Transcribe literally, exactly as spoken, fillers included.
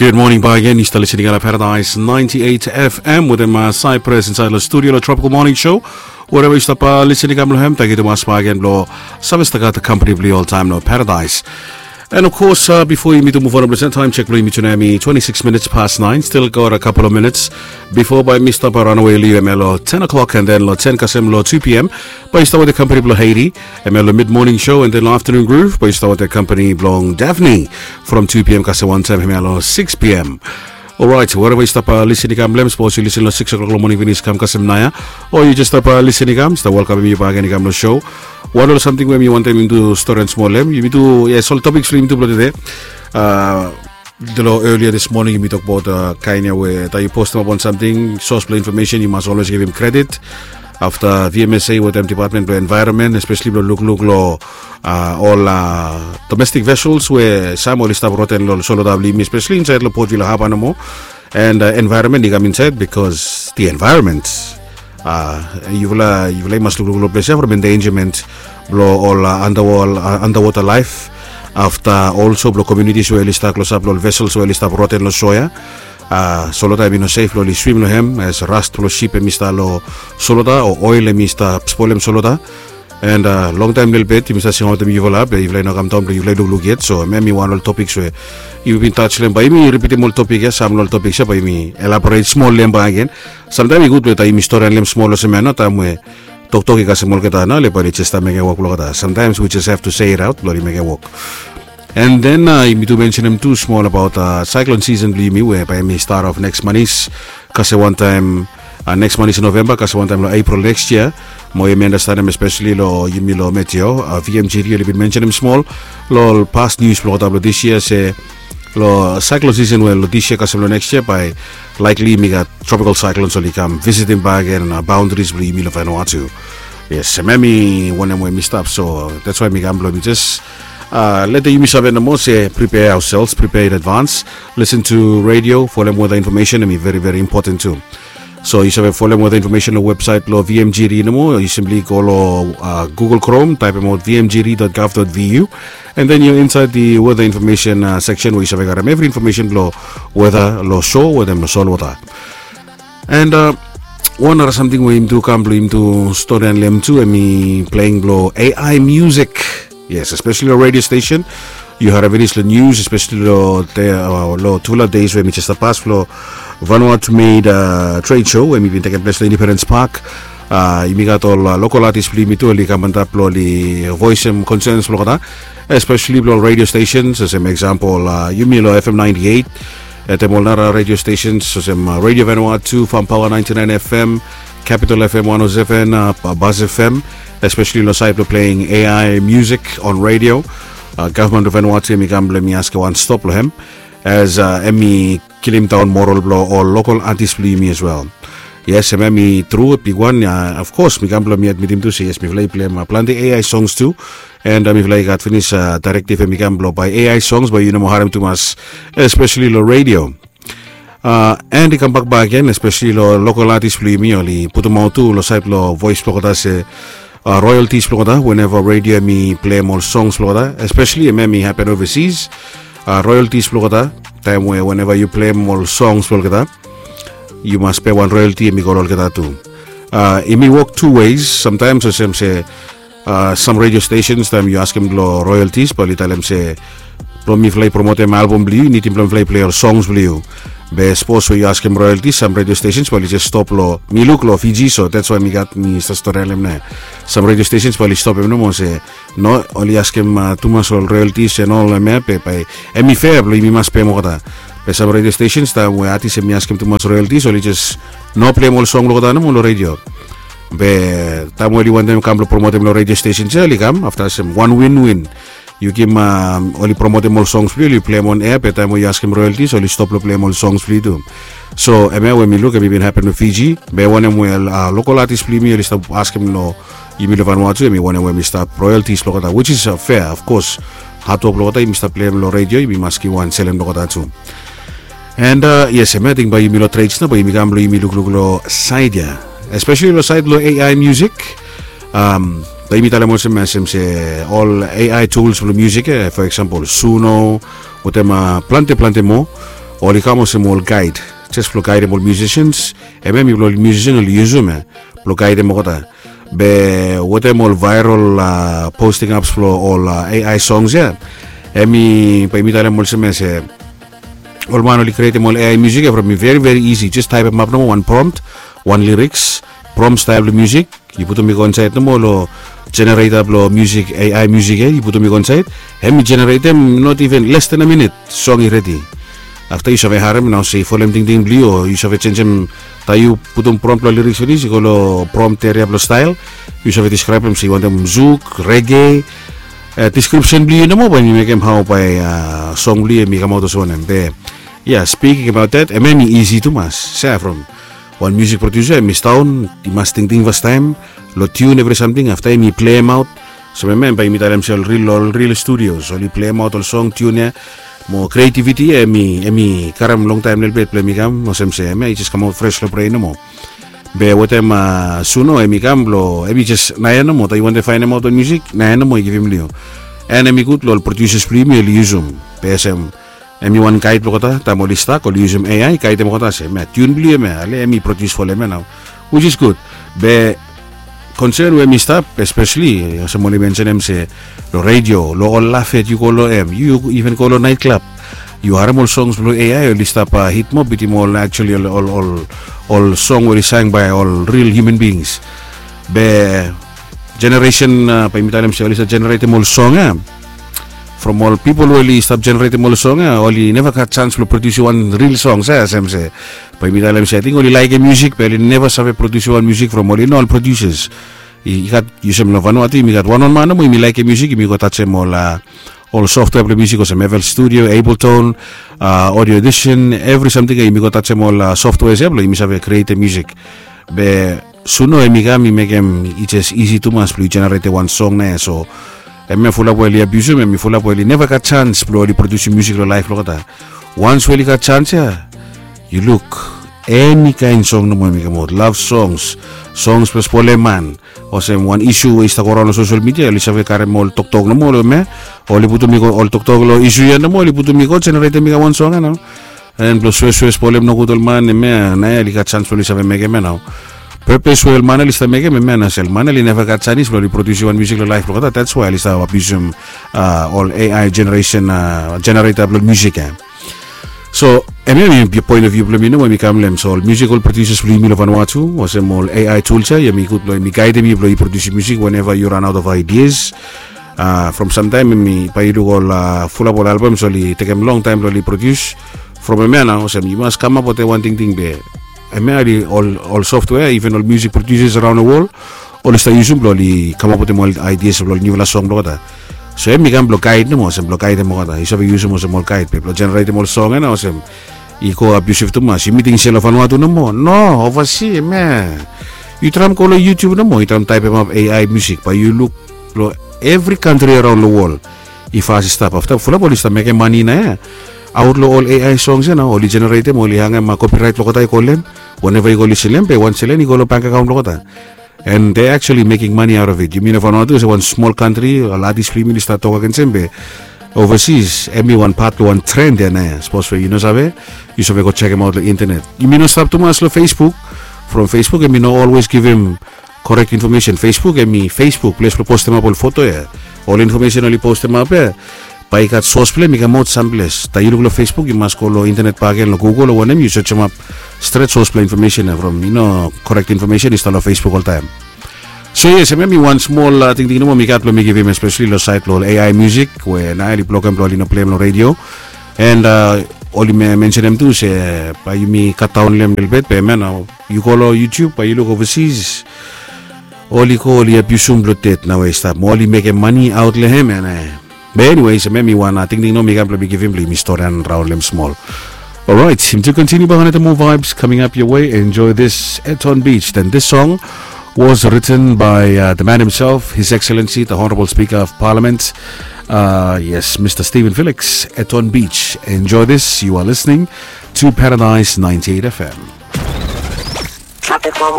Gud moning bakegen, yu stap lisin i kam long Paradise ninety-eight F M wetem Cyprus insaed long studio long Tropical Morning Show. Wereva yu stap lisin i kam long hem, tangkiu tumas bakegen blong save stap gat kampani blong yu oltaem long Paradise. And of course, uh, before yumi tu move on, please, time check blong yumi tu nao hemi twenty-six minutes past nine. Still got a couple of minutes before bae mi stap ranawe long yumi hemia long ten o'clock, and then long ten kasem long two p.m. Bae yu stap wetem kampani blong Haiti hemia long mid morning show, and then long afternoon groove bae yu stap wetem kampani blong Daphne from two p.m. kasem wantaem hemia long six p.m. Alright, wereva yu stap lisin i kam long hem, sapos yu lisin long six o'clock long moning finis kam kasem naoia, o yu jes stap lisin i kam, stap welkamem yu bakegen i kam long show. Wanpela samting we mi wantem yumi tu stori smol long hem, yumi tu, yes, ol topiks blong yumi tu blong tede. Uh, long earlier this morning yumi tokbaot, uh, kaen ia we taem yu postem ap wan samting, sos blong infomesen yu mas always givim kredit. Afta V M S A wetem department blong environment, especially blong lukluk long, uh, ol, uh, domestic vessels we sam oli stap roten long solota blong yumi, especially insaed long Port Vila Harbour nomo. And, uh, environment i kam insaed because the environment, uh, yufala, yufala i mas lukluk long ples ia from endangerment blong ol, uh, underwater, uh, underwater life. Afta also blong communities we oli stap klosap long ol vessels we oli stap roten long soa ia. Uh, solota hemi no sef blong oli swim long hem, as rust blong sip hemi stap long solota, o oil hemi stap spolem solota. And, uh, longtaem lelebet yumi stap singaotem yufala, be yufala i no kamdaon blong yufala i lukluk yet. So hemia hemi wan ol topiks we yumi bin touch long hem, bae yumi ripitim ol topik ia, sam long ol topiks ia bae yumi elaborate smol long hem bakegen. Samtaem i gud we taem yumi stori long hem smol olsem ia nao, taem we toktok i kasem olgeta nao, oli bae oli jes stap mekem wok blong olgeta. Sometimes we just have to say it out blong oli mekem wok. And then, uh, yumi tu mensenem tu smol abaot, uh, cyclone season blong yumi we bae hemi start off next manis kasem wantaem, uh, next manis November kasem wantaem long April next year. Mo yumi andastanem especially long yumi long Meteo, uh, V M G D oli bin mensenem smol long ol past news blong olgeta blong this year se long cyclone season we long this year kasem long next year bae likely yumi gat tropical cyclones oli kam visitim bakegen, uh, boundaries blong yumi long Vanuatu. Yes, hemia hemi wanem we mi stap, so that's why mi kam blong mi jes, uh, letem yumi save nomo se prepare ourselves, prepare in advance. Listen to radio, folem weather information hemi very very important tu. So yu save folem weather information long website blong V M G D nomo, yu simply go long, uh, Google Chrome, taepemaot V M G D dot gov dot V U, and then yu insaed the weather information, uh, section we yu save gat evri information blong weather long soa wetem long solwota. And, uh, wan nara samting we yumi tu kam blong yumi tu stori long hem tu, hemi pleing blong A I music. Yes, especially long radio station. Yu harem finis long news, especially long, uh, long tufala days we hemi jes stap pas, long Vanuatu Made, uh, trade show we hemi bin tekem ples long Independence Park. Uh, yumi gat ol, uh, local artist blong yumi tu oli kam antap blong oli voesem concerns blong olgeta, especially blong ol radio stations, olsem example, uh, yumi long F M ninety-eight, wetem ol nara radio stations olsem, uh, Radio Vanuatu, Farm Power ninety-nine F M, Capital F M one oh seven, uh, Buzz F M, especially long saed blong playing A I music on radio. Uh, gavman blong Vanuatu hemi kam blong hemi askem wan stop long hem, as, uh, hemi kilim daon moral blong ol local artist blong yumi as well. Yes, hemia hemi tru bigwan. Uh, of course mi kam blong mi admitim tu se yes, mifala i pleim, uh, plante A I songs tu. And, uh, mifala i gat finis, uh, directive hemi kam blong bae A I songs bae yu no moa harem tumas, especially long radio. Uh, and i kambak bakegen, especially long local artist blong yumi, oli putumaot tu long saed long voes blong olgeta se, uh, royalties blong olgeta whenever radio hemi pleim ol songs blong olgeta, especially hemia hemi hapen overseas. Uh, royalties blong olgeta, taem we whenever yu pleim ol songs blong olgeta, yu mas pem wan royalty hemi go long olgeta tu. Uh, hemi wok two ways. Sometimes olsem se, uh, sam radio stations taem yu askem long royalties bae oli talem se blong mifala i promotem album blong yu, i nidim blong mifala i plei ol songs blong yu. Be sapos we yu askem royalties, sam radio stations bae oli jes stop long, mi luk long Fiji, so that's why mi gat, mi stap stori long hem nao. Sam radio stations bae oli stopem nomo se no, oli askem, uh, tumas ol royalties and all hemia, be bae hemi fair blong yumi mas pem olgeta. Be sam radio stations taem we artist hemi askem tumas royalties oli jes no pleim ol song blong olgeta nomo long radio. Be taem we oli wantem kam blong promotem long radio stations ia, oli kam afta olsem wan win-win. Yu givim, um, oli promotem ol songs blong yu, oli pleim on air, be taem we yu askem royalties oli stop long pleim ol songs blong yu tu. So hemia we mi luk hemi bin hapen long Fiji, be wanem we, uh, local artist blong yumi oli stap askem long yumi long Vanuatu, hemi wanem we hemi stap royalties blong olgeta, which is, uh, fair, of course. Hard work blong olgeta yumi stap pleim long radio, yumi mas givim wan selem long olgeta tu. And, uh, yes, hemia ating bae yumi long trades nao, bae yumi kam blong yumi lukluk long saed ia, especially long saed blong A I music. Um, bae yumi talem olsem, olsem se ol A I tools blong music, eh, for example Suno, wetem, uh, plante plante moa. oli kam olsem ol gaed, jes blong gaedem ol musicians. Hemia mipela ol musician oli yusum ya blong gaedem olgeta. Be wetem ol viral posting ups blong ol ai songs ya, hemi bae mi talem olsem ya se ol man oli krietem ol ai musik ya from mi veri veri isi, jes taepem ap nomo wan prompt, wan liriks, prompt stael blong musik, yu putum i go insaed nomo long jenereta blong musik, ai musik ya yu putum i go insaed, hemi jeneretem not iven les ten a minit, song i redi. Afta yu save harem nao se i folem tingting blong yu o yu save jenjem. Taem yu putum prompt long liriks finis i go long prompt eria blong stael, yu save diskraebem se yu wantem zuk, rege, deskripsen blong yu nomo bae mi mekem hao bae song blong yu em i kamaot olsem wanem be. Ya, spiking abaot dat, em em i isi tumas. Sa from wan musik produsa em i staon, i mas tingting fastaem long tiun evri samting, afta em i pleim aot. So em em bae mi talem se ol ril ol ril studios oli pleim aot ol song, tiun ya, mo kreativiti ya em i karem longtaem lelebet blong em i kam olsem se em ya i jes kamaot fres long bren nomo. Be wetem suno em i kam blong em i jes naoia nomo taem yu wantem faenemaot ol musik, naoia nomo i givim long yu. An em i gud long ol produsas blong yumi oli yusum. Be olsem em i wan gaed blong olgeta taem oli stak oli yusum ai gaedem olgeta se em ya tiun blong yu em ya ale em i produs folem ya nao, which is gud. Be konsen we mi stap espeseli olsem oli mensenem se long redio, long ol lafet yu go long em, yu iven go long naet klab, yu harem ol songs blong ai oli stap hitmop bitim ol actuali ol song we oli saen bae ol ril hiuman bings. Be jeneresen bae mi talem se oli stap jeneretem ol song ya from ol pipol we oli stap jeneretem ol song ya oli neva gat sans blong produsim wan ril song sa olsem se bae mi talem se ating oli laekem musik be oli neva save produsim wan musik from oli no ol produsas. I gat olsem long Vanuatu yumi gat wanwan man nomo yumi laekem musik yumi go tajem ol ol softwea blong musik olsem FL Studio, Ableton, Audio Audition, evri samting ya yumi go tajem ol softweas ya blong yumi save krietem musik. Be suno em i kam i mekem i jes isi tumas blong yu jeneretem wan song na ya so em ya fulap we oli abiusim em i fulap we oli neva gat sans blong oli produsim musik long laef blong olgeta. Wans we oli gat sans ya yu luk eni kaen song nomo em i kamaot, lav songs, songs blong spolem man, olsem wan isu we i stap go raon long sosel midia oli save karem ol toktok nomo long em ya, oli putum i go ol toktok long isu ya nomo oli putum i go jeneretem i kam wan song ya nao. An blong suesue spolem nogud ol man em ya na ya oli gat sans blong oli save mekem ya nao. Pepes we ol man oli stap mekem em ya na se ol man oli neva gat sanis blong oli produsim wan musik long laef blong olgeta, that's why oli stap abiusim ol ai jeneresen jenereta blong musik ya. So em ya mi poen of view blong mi nomo em i kam long em so ol musical producers blong yumi long Vanuatu olsem ol ai tools ya em i gud blong em i gaedem yu blong yu produsim musik weneva yu ran aot of ideas. From samtaem em i bae yu luk ol fulap ol albams oli tekem longtaem blong oli produs. From em ya nao olsem yu mas kamap wetem wan tingting be em ya oli ol softwea iven ol musik produsas araon long wol oli stap yusum blong oli kamap wetem ol ideas blong ol niufala song blong olgeta. So em i kam blong gaed nomo olsem blong gaedem olgeta yu save yusum olsem ol gaed be blong jeneretem ol song ya nao olsem i go abiusiv tumas yumi ting se long Vanuatu nomo no ovasi em ya. Yu traem go long YouTube nomo yu traem taepemap ai musik bae yu luk long evri kantri araon long wol i fas i stap afta fulap oli stap mekem mani na ya. Aot long ol ai songs ya nao oli jeneretem oli hangem kopiraet blong olgeta i go long em. Weneva yu go lisin long em be wan selen i go long bank akaon blong olgeta. And they actually making money out of it. Yumi no Vanuatu olsem wan smol kantri ol atis blong yumi oli stap tok agens em be ovasis em i wan pat blong wan tren ya na ya sapos we yu no save yu save go jekemaot long intenet. Yumi no stap tumas long Facebook. From Facebook em i no olwes givim korek infomesen. Facebook em i Facebook ples blong postemap ol foto ya, ol infomesen oli postemap ya bae i gat sos blong em i kamaot samples taem yu luk long Facebook yu mas go long intenet bakegen long Google o wanem yu sejemap stret sos blong infomesen ya from i no korek infomesen i stap long Facebook oltaem. So yes em em i wan smol tingting nomo mi gat blong mi givim espeseli long saed blong ol ai musik we nael i blokem blong oli no pleim long redio. And oli mensenem tu se bae yumi katdaon long em lelebet be em ya nao yu go long YouTube bae yu luk ovasis oli go oli abiusum blong det nao we i stap mo oli mekem mani aot long em ya na. Be eniwes em em i wan tingting nomo mi gat blong mi givim blong yumi storian raon long em smol. Alright, to continue behind the more vibes coming up your way, enjoy this Eton Beach. Then this song was written by uh, the man himself, His Excellency, the Honorable Speaker of Parliament, uh, yes, Mister Stephen Felix, Eton Beach. Enjoy this. You are listening to Paradise ninety-eight F M. Tropical